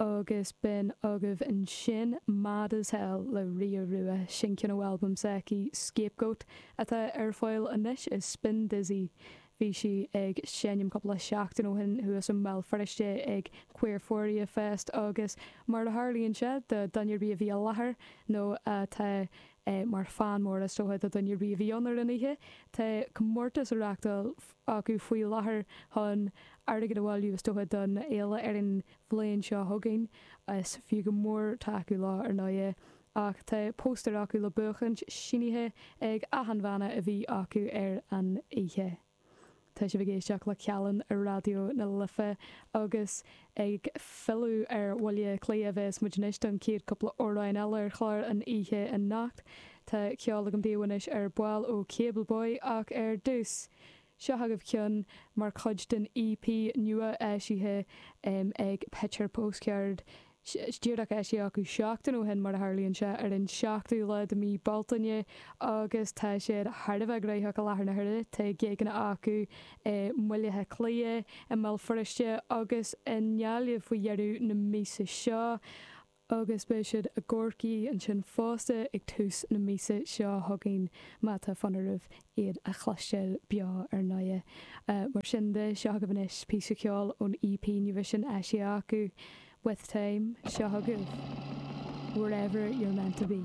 Agus b'in agaibh ansin Mad as Hell le Ria Rua, sin ceann ó albam s'aici, Scapegoat, atá ar fáil anois i Spindizzy. Bhí sí ag seinm cúpla seachtain ó shin thuas i mBéal Feirste ag Queerphoria Fest agus mar a tharlaíonn sé do dhuine ar bith a bhí i láthair nó atá mar fan mór is dócha do dhuine ar bith a bhí ann ar an oíche, tá comórtas á reachtáil acu faoi láthair chun airgead a bhailiú is dócha don fhéile ar an bhliain seo chugainn. Is fiú go mór tacú leo ar ndóighe. Ach tá póstaer acu le buachaint, sínithe ag achan bhanna a bhí acu ar an oíche. Tá sibh ag éisteacht le Callán ar Raidió na Life agus ag filleadh ar Bhaile Átha Cliath a bheas muid anois don chéad cúpla amhrán eile ar chlár an oíche anocht. Tá ceol agam daoibh anois ar ball ó Cable Boy ach ar dtús, seo agaibh ceann mar chuid den EP nua eisithe ag Picture Postcard. Díreach eisithe acu seachtain ó shin, mar a tharlaíonn sé, ar an seachtú lá de mhí Bealtaine agus tá siad thar a bheith gnóthach i láthair na huaire. Tá gigeanna acu i mBaile Átha Cliath, i mBéal Feirste agus i nGaillimh faoi dheireadh na míosa seo agus beidh siad i gCorcaigh ansin fosta ag tús na míosa seo chugainn má tá fonn oraibh iad a chloisteáil beo ar ndóighe. Mar sin de, seo agaibh anois píosa ceoil ón EP nua sin eisithe acu. With Time, seo chugaibh Wherever You're Meant To Be.